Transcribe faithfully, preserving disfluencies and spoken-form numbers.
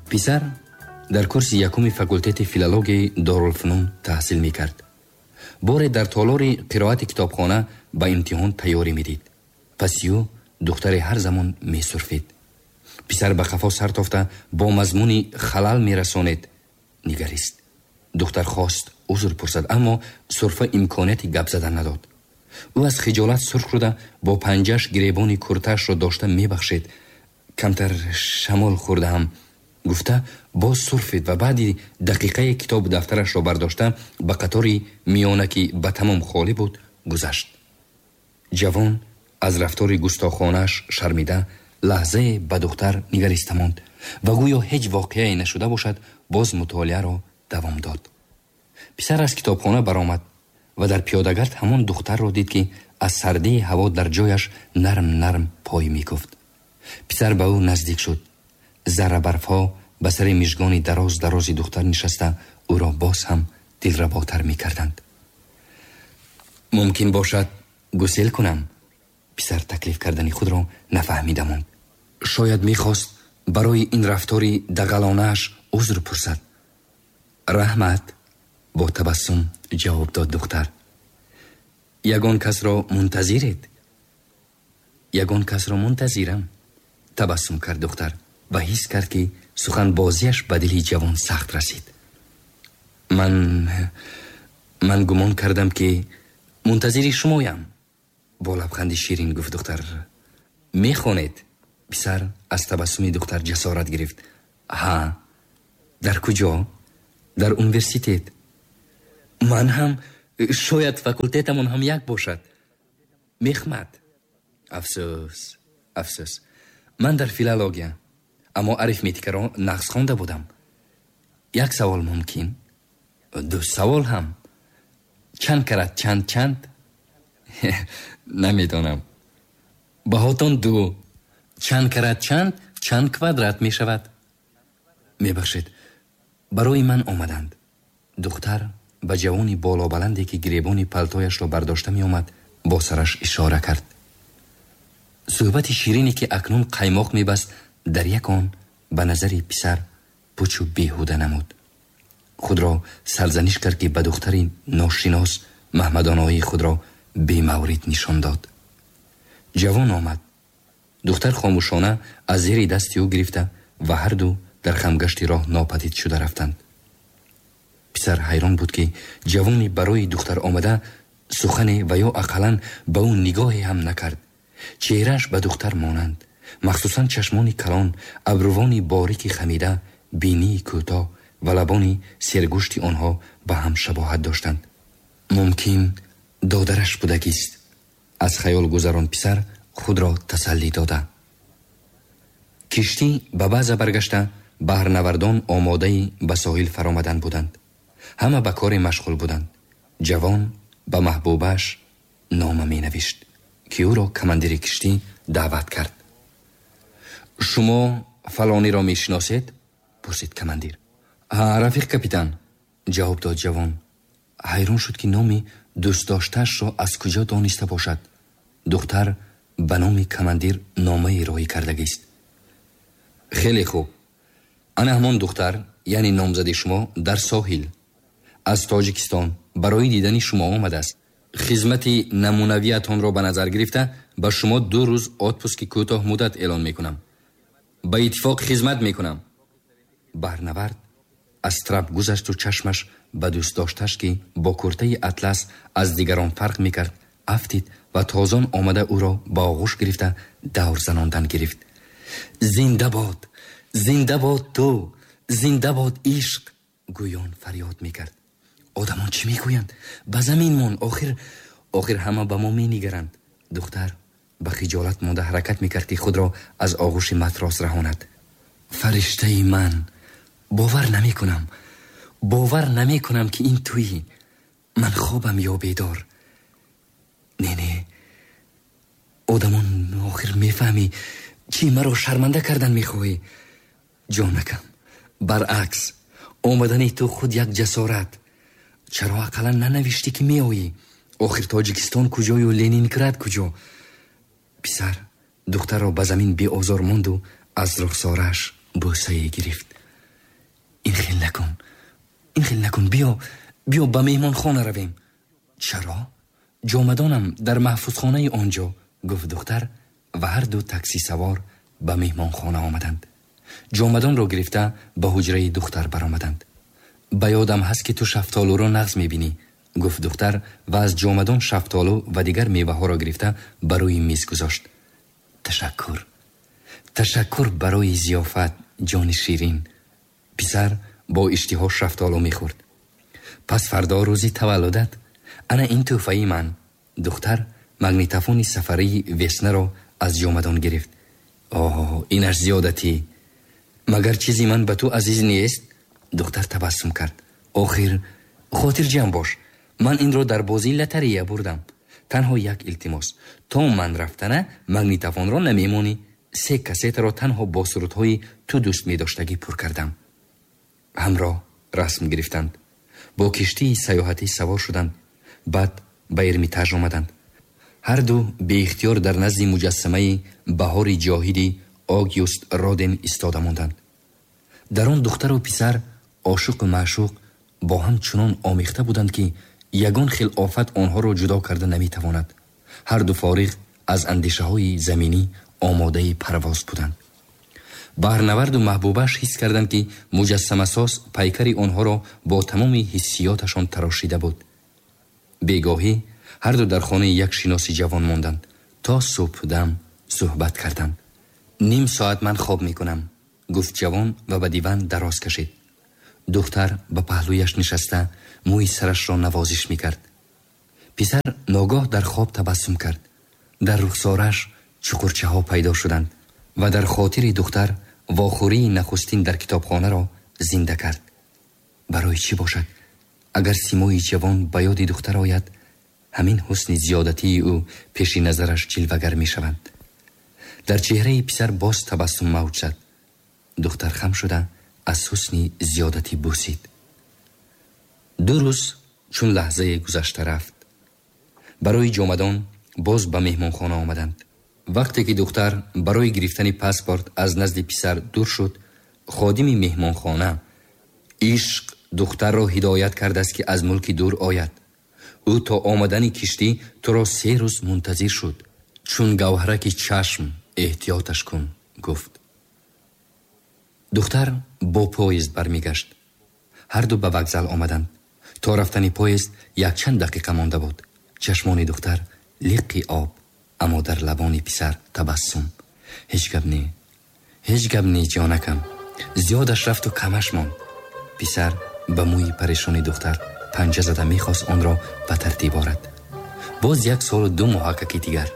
Писар дар курси якуми факултети филологияи Дорулфунун таҳсил мекард. Боре дар толори қироати китобхона ба имтиҳон тайёрӣ медид. Паси ӯ духтаре ҳар замон месурфид. Писар ба қафо сар тофта бо мазмуни халал мерасонед нигарист. Духтар хост узр пурсад, аммо сурфа имконияти гап задан надод. Ӯ аз хиҷолат сурх шуда бо панҷаш гиребони куртаашро дошта мебахшед. Камтар шамол хӯрдаам, гуфта боз сурфид ва баъди дақиқае китобу дафтарашро бардошта ба қатори миёна, ки ба тамом холӣ буд, гузашт. Ҷавон аз рафтори густохонааш шармида лаҳзае ба духтар нигариста монд ва гӯё ҳеҷ воқеае нашуда бошад, боз мутолиаро давом дод. Писар аз китобхона баромад ва дар пиёдагард ҳамон духтарро дид, ки аз сардии ҳаво дар ҷояш нарм нарм пой мекуфт. Писар ба ӯ наздик шуд. Заррабарфҳо ба сари мижгони дароз дарози духтар нишаста ӯро боз ҳам дилработар мекарданд. Мумкин бошад, гусел кунам? Писар таклиф кардани худро нафаҳмида монд. Шояд мехост барои ин рафтори дағалонааш узр пурсад. Раҳмат, бо табассум ҷавоб дод духтар. Ягон касро мунтазиред? Ягон касро мунтазирам, табассум кард духтар ва ҳис кард, ки суханбозиаш ба дили ҷавон сахт расид. Ман ман гумон кардам, ки мунтазири шумоям, бо лабханди ширин гуфт духтар. Мехонед? Писар аз табассуми духтар ҷасорат гирифт. Ҳа. Дар куҷо? Дар университет. Ман ҳам, шояд факултетамон ҳам як бошад. Мехмат. Афсӯс, афсӯс, ман дар филология, аммо арифметикаро нағз хонда будам. Як савол мумкин? Ду савол ҳам. Чанд карат чанд чанд? Намедонам. Баҳотон ду. Чанд карат чанд чанд квадрат мешавад? Мебахшед, барои ман омаданд. Духтар ба ҷавони болобаланде, ки гиребони палтояшро бардошта меомад, бо сараш ишора кард. Суҳбати ширине, ки акнун қаймоқ мебаст, дар як он ба назари писар пучу беҳуда намуд. Худро сарзаниш кард, ки ба духтари ношинос маҳмадоноии худро бемаврид нишон дод. Ҷавон омад. Духтар хомӯшона аз зери дасти ӯ гирифта ва ҳарду дар хамгашти роҳ нопадид шуда рафтанд. Писар ҳайрон буд, ки ҷавони барои духтар омада сухане ва ё ақаллан ба ӯ нигоҳе ҳам накард. Чеҳрааш ба духтар монанд, махсусан чашмони калон, абрувони борики хамида, бинии кӯтоҳ ва лабони сергӯшти онҳо ба ҳам шабоҳат доштанд. Мумкин, додараш будагист, аз хаёл гузарон писар худро тасаллӣ дода. Киштӣ ба база баргашта, баҳрнавардон омодаи ба соҳил фаромадан буданд. Ҳама ба коре машғул буданд. Ҷавон ба маҳбубааш нома менавишт, ки ӯро командири киштӣ даъват кард. Шумо фалониро мешиносед? Пурсид командир. Ҳа, рафиқ капитан, ҷавоб дод ҷавон. Ҳайрон шуд, ки номи дӯстдоштаашро аз куҷо дониста бошад. Духтар ба номи командир номае роҳӣ кардагист. Хеле хуб, ана ҳамон духтар, яъне номзади шумо, дар соҳил аз Тоҷикистон барои дидани шумо омадааст. Хизмати намунавиятонро ба назар гирифта, ба шумо ду рӯз отпуски кӯтоҳ муддат эълон мекунам. Ба иттифоқ хизмат мекунам. Баҳрнавард аз трап гузашту чашмаш ба дӯстдошташ, ки бо куртаи атлас аз дигарон фарқ мекард, афтид ва тозон омада ӯро ба оғӯш гирифта давр занондан гирифт. Зинда бод, зинда бод ту, зинда бод ишқ, гӯён фарёд мекард. Одамон чӣ мегӯянд? Ба замин мон, охир охир ҳама ба мо менигаранд. Духтар ба хиҷолат монда ҳаракат мекард, ки худро аз оғӯши матрос раҳонад. Фариштаи ман, бовар намекунам, бовар намекунам, ки ин туӣ. Ман хобам ё бедор? Не, не, одамон, охир мефаҳмӣ, чӣ маро шарманда кардан мехоҳӣ? Ҷонакам, баръакс, омадани ту худ як ҷасорат. Чаро ақаллан нанавиштӣ, ки меоӣ? Охир Тоҷикистон куҷою Ленинград куҷо? Писар духтарро ба замин беозор монду аз рухсорааш бӯсае гирифт. Ин хел накун, ин хел накун, биё, биё ба меҳмонхона равем. Чаро? Ҷомадонам дар маҳфузхонаи он ҷо, гуфт духтар ва ҳар ду такси савор ба меҳмонхона омаданд. Ҷомадонро гирифта ба ҳуҷраи духтар баромаданд. Ба ёдам ҳаст, ки ту шафтолуро нағз мебинӣ, гуфт духтар ва аз ҷомадон шафтолу ва дигар меваҳоро гирифта ба рӯи миз гузошт. Ташаккур, ташаккур барои зиёфат, ҷони ширин. Писар бо иштиҳо шафтолу мехӯрд. Пас фардо рӯзи таваллудат, ана ин тӯҳфаи ман. Духтар магнитофони сафарии Веснаро аз ҷомадон гирифт. Оҳ, инаш зиёдатӣ. Магар чизи ман ба ту азиз нест? Духтар табассум кард. Охир, хотирҷамъ бош, ман инро дар бозии лотарея бурдам. Танҳо як илтимос: то ман рафтана магнитофонро намемонӣ. Се кассетаро танҳо бо сурудҳои ту дӯст медоштагӣ пур кардам. Ҳамроҳ расм гирифтанд. Бо киштии саёҳатӣ савор шуданд. Баъд ба Эрмитаж омаданд. Ҳар ду беихтиёр дар назди муҷассамаи баҳори ҷоҳиди Огюст Роден истода монданд. Дар он духтару писар ошиқу маъшуқ бо ҳам чунон омехта буданд, ки ягон хел офат онҳоро ҷудо карда наметавонад. Ҳар ду фориғ аз андешаҳои заминӣ омодаи парвоз буданд. Баҳрнаварду маҳбубаш ҳис карданд, ки муҷассамасоз пайкари онҳоро бо тамоми ҳиссиёташон тарошида буд. Бегоҳӣ ҳар ду дар хонаи як шиноси ҷавон монданд. То субҳдам суҳбат карданд. Ним соат ман хоб мекунам, гуфт ҷавон ва ба диван дароз кашид. Духтар ба паҳлӯяш нишаста мӯи сарашро навозиш мекард. Писар ногоҳ дар хоб табассум кард. Дар рухсораш чуқурчаҳо пайдо шуданд ва дар хотири духтар вохӯрии нахустин дар китобхонаро зинда кард. Барои чӣ бошад, агар симои ҷавон ба ёди духтар ояд, ҳамин ҳусни зиёдатии ӯ пеши назараш ҷилвагар мешаванд. Дар чеҳраи писар боз табассум мавҷ зад. Духтар хам шуда аз ҳусни зиёдатӣ бусид. Ду рӯз чун лаҳзае гузашта рафт. Барои ҷомадон боз ба меҳмонхона омаданд. Вақте ки духтар барои гирифтани паспорт аз назди писар дур шуд, ходими меҳмонхона ишқ духтарро ҳидоят кардааст, ки аз мулки дур ояд. Ӯ то омадани киштӣ туро се рӯз мунтазир шуд. Чун гавҳараки чашм эҳтиёташ кун, гуфт. Духтар бо поезд бармегашт. Ҳар ду ба вокзал омаданд. То рафтани поезд якчанд дақиқа монда буд. Чашмони духтар лиққи об, аммо дар лабони писар табассум. Ҳеҷ гап не, ҳеҷ гап не, ҷонакам. Зиёдаш рафту камаш монд. Писар ба мӯи парешони духтар панҷа зада мехост онро ба тартиб орад. Боз як солу ду моҳакаки дигар.